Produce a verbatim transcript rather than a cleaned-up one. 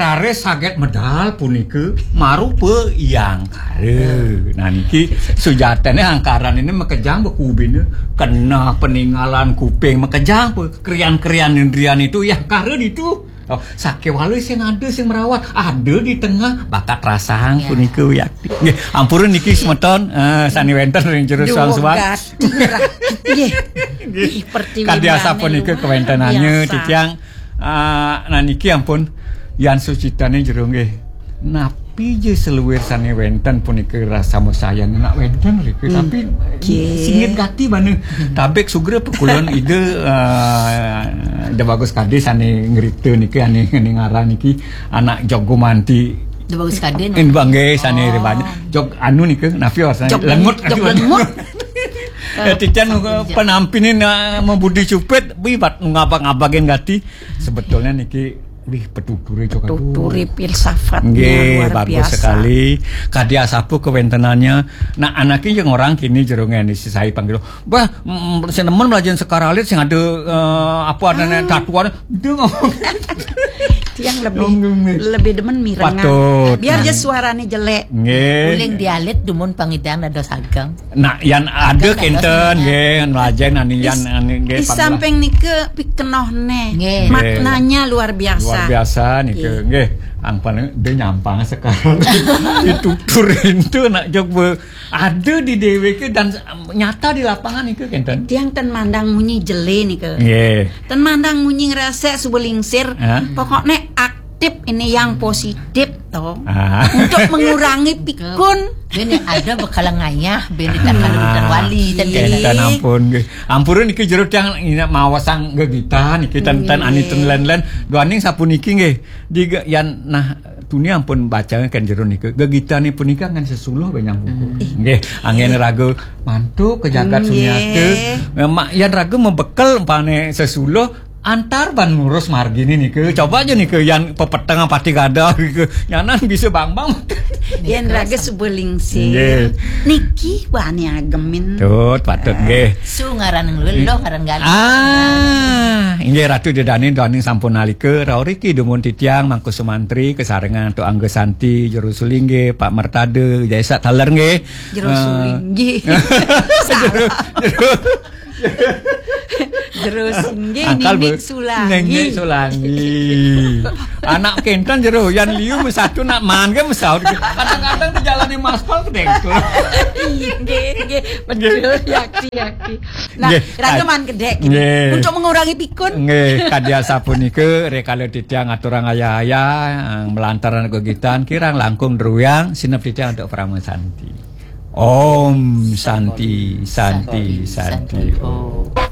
Kare saget medal punika marupa Hyang Kara. Nah, niki sujatine Angkaran ini makejang bekubine, keneh peninggalan kuping makejang, krian-krian indrian itu Hyang Kara ditu. Oh, sakewala sing ada sing merawat, ada di tengah bakat rasang. Ya. Punika wiakti. Nggih, ampura niki semeton, eh, sane wenten ring jero suang suwak. Nggih. Nggih. Ih, pertiwi kadi asapunika kawentenane titiang, ah, nah niki ampun yan sucitane jero nggih. Napi ja seluir sane wenten punika rasa musayan nak wenten rika, tapi singit gati bana. Tabik sugra pekulon ida, ah, Da Bagus Kade sane ngrita niki ane, ane ngaran niki anak Jog Gumanti. Da Bagus Kade, no? Nggih, sane ribanya. Jog anu nika napi warsane? Jog lengut, Jog lengut. Ya, titiang penampine na mabudi cupit, wibat ngabag-ngabagin gati. Sebetulnya niki, wih, petuture cok, aduh. Tuture filsafatnya nggih, luar biasa sekali. Kadi asapu kewentenannya. Nah, anake yang orang kini jerunge ni sisai panggil. Bah, mm, sing nemen mlajen sekar alit sing ada, eh, apa adane tatuan. Dia ngomong. Tiang lebih, lebih demen mirengan. Patut. Biar aja suaranya jelek. Nggih. Uling dialit dumun pangidang dados ageng. Nah, yan ada kenten nggih, yan lajeng nani yan ane nggih. Di samping nika pikenoh neh. Nggih. Maknanya luar biasa. Luar biasa nika nggih. Angpan dia nyampang sekarang. Itu turin tu nak jog be-, ada di D W K dan nyata di lapangan nika kenten. Tiang ten mandang munyi jele nika. Nggih. Ten mandang munyi ngerasa suba lingsir. Pokoknya ak- tip ini yang positif toh. Untuk mengurangi pikun. Bene ada bekala ngayah, bene tak kalau wali tadi. Enten ampun nggih. Ampura niki jero tiang ina mawasang gegitan niki ten, ten ani ten len-len. Duaning sapuniki nggih. Di ge-, yan nah tuni ampun baca kan jero niki. Gegitan punika ngan sesuluh benyang buku. Nggih, anggen raga mantuk ke jagat sunyata. Memang yan raga mebekel umpane sesuluh antar ban ngurus margine niki. Coba aja niki yan pepeteng pati gadah niki. Nyanan bisa bang-bang. Yan raga suba lingsir. Nggih. Niki bani agemin. Tut, patut nggih. Su ngaran ngeluh, lo ngaran galih. Ah, inggih Ratu Dedani, Dani sampun nalika, rauriki dumun titiang, Mangku Sumantri, kesarengan Tuk Angga Santi, Jero Sulinggih, Pak Mertada, Jaisa taler nggih. Jero Sulinggih. Jero, jero, Jero Singgih, Angkal Nini Sulangi. Nini Sulangi. Anak kenten jero, yan liu mesatu nak man ke mesaut. Kadang-kadang di jalan di maspal kedengkul. Nggih, nggih, betul, yakti, yakti. Nah, nggih, raga man kedek. Nggih. Untuk mengurangi pikun. Nggih, kadi asapunika, rikala titiang aturang ayah-ayah, melantaran kegiatan, kirang langkung druwiang, sinep titiang untuk Parama Santi. Om Santi, Santi, Santi, Santi, Om.